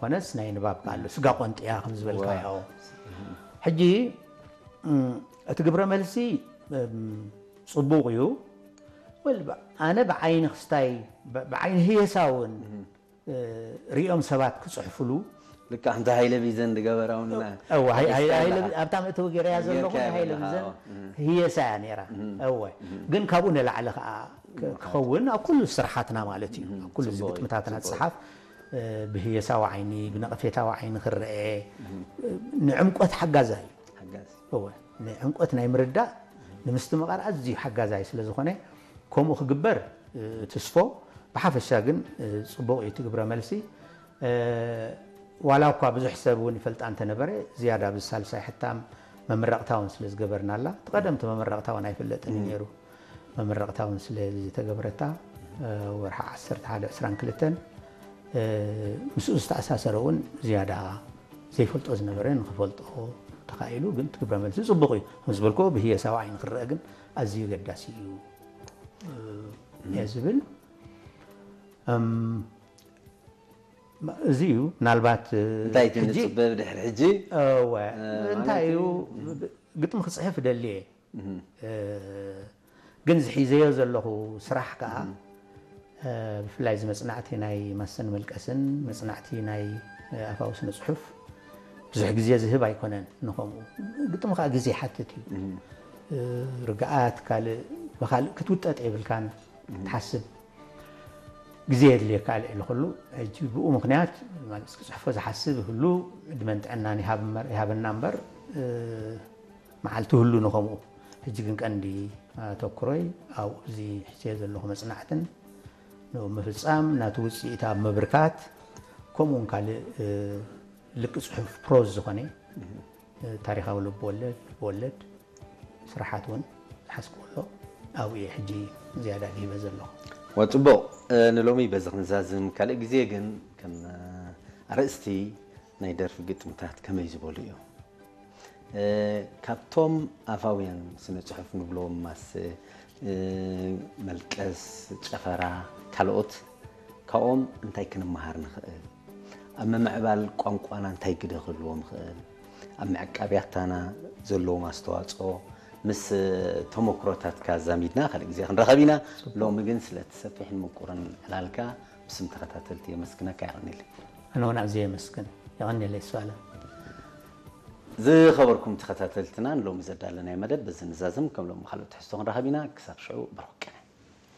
ኮነስ ናይ ንባብ ኣሎ ስጋ ቆንጥያ ከም ዝበልካዮ። ሕጂ እቲ ግብረ መልሲ ጽቡቕ እዩ። ወል ኣነ ብዓይኒ ክስታይ ብዓይኒ ህየሳ እውን ሪኦም ሰባት ክፅሕፍሉ ልካ ከምቲ ሃይለ ቢዘን ዝገበራውና ኣብታ መእተዊ ገይረያ ዘለኹ ሃይለ ቢዘን ህየሳ እያ ነይራ። እወ ግን ካብኡ ንላዕሊ ከዓ ክኸውን ኣብ ኩሉ ስርሓትና ማለት እዩ ኣብ ኩሉ እዚ ግጥምታትና ዝፅሓፍ ብህየሳዊ ዓይኒ ብነቐፌታዊ ዓይኒ ክረአ ንዕምቆት ሓጋዛ እዩ። ንዕምቆት ናይ ምርዳእ ንምስትምቓር ኣዝዩ ሓጋዛይ ስለ ዝኾነ ከምኡ ክግበር ትስፎ። ብሓፈሻ ግን ፅቡቕ እዩ ትግብረ መልሲ። ዋላ እኳ ብዙሕ ሰብ እውን ይፈልጣ እንተነበረ ዝያዳ ኣብዚ ሳልሳይ ሕታም መምረቕታ እውን ስለ ዝገበርናላ እቲ ቀደምቲ መምረቕታ እውን ኣይፍለጥን እዩ ነይሩ። መምረቕታ እውን ስለ ዝተገበረታ ወርሓ ዓሰርተ ሓደ ዕስራን ክልተን ምስኡ ዝተኣሳሰረ እውን ዝያዳ ዘይፈልጦ ዝነበረ ንክፈልጦ ተኻኢሉ ግን ትግብረ መልሲ ፅቡቕ እዩ ምስ በልኮ ብህየሳዊ ዓይኒ ክረአ ግን ኣዝዩ ገዳሲ እዩ እየ ዝብል። እዚ እዩ ምናልባት እንታይ ትንፅበ ብድሕሪ ሕጂ እንታይ እዩ ግጥሚ ክፅሕፍ ደልየ ግን ዝሒዘዮ ዘለኹ ስራሕ ከዓ ብፍላይ እዚ መፅናዕቲ ናይ ማሰን መልቀስን መፅናዕቲ ናይ ኣፋዊ ስነ ፅሑፍ ብዙሕ ግዜ ዝህብ ኣይኮነን። ንኸምኡ ግጥሚ ከዓ ግዜ ይሓትት እዩ። ርግኣት ካልእ ብካልእ ክትውጠጥ የብልካን ትሓስብ ግዜ የድልየካ ልዕሊ ኩሉ። ሕጂ ብኡ ምክንያት ማለት ክፅሕፎ ዝሓስብ ይህሉ ዕድመን ጥዕናን ይሃበና እምበር መዓልቲ ህሉ ንኸምኡ። ሕጂ ግን ቀንዲ ኣተኩሮይ ኣብኡ እዚ ሕዝዮ ዘለኹ መፅናዕትን ንኡ ምፍፃም ናቲ ውፅኢት ኣብ ምብርካት ከምኡውን ካልእ ልቂ ፅሑፍ ፕሮዝ ዝኾነ ታሪኻዊ ልብወለድ ልብወለድ ስራሓት እውን ዝሓዝኩ ኣሎ ኣብኡ እየ ሕጂ ዝያዳ ድሂበ ዘለኹ። ወፅቡቕ ንሎሚ በዚ ክንዛዝም ካልእ ግዜ ግን ከም ኣርእስቲ ናይ ደርፊ ግጥምታት ከመይ ዝበሉ እዮም? ካብቶም ኣፋውያን ስነ ጽሑፍ ንብሎም ማስ፣ መልቀስ፣ ጨፈራ፣ ካልኦት ካብኦም እንታይ ክንመሃር ንኽእል? ኣብ ምምዕባል ቋንቋና እንታይ ግደ ክህልዎም ይኽእል? ኣብ ምዕቃብ ያታና ዘለዎም ኣስተዋጽኦ ምስ ተመክሮታትካ ኣዛሚድና ካልእ ግዜ ክንረኸብ ኢና። ሎሚ ግን ስለቲ ሰፊሕን ምቁርን ዕላልካ ብስም ተኸታተልቲ የመስግነካ። የቐንየለይ። ኣነ እውን ኣዝየ የመስግን። የቐንየለይ ሱኣለ። ዝኸበርኩም ተኸታተልትና ንሎሚ ዘዳለናዮ መደብ በዚ ንዛዝም። ከም ሎሚ ካልኦት ትሕዝቶ ክንረኸብ ኢና። ክሳብ ሽዑ ብሩኽ ቀነ።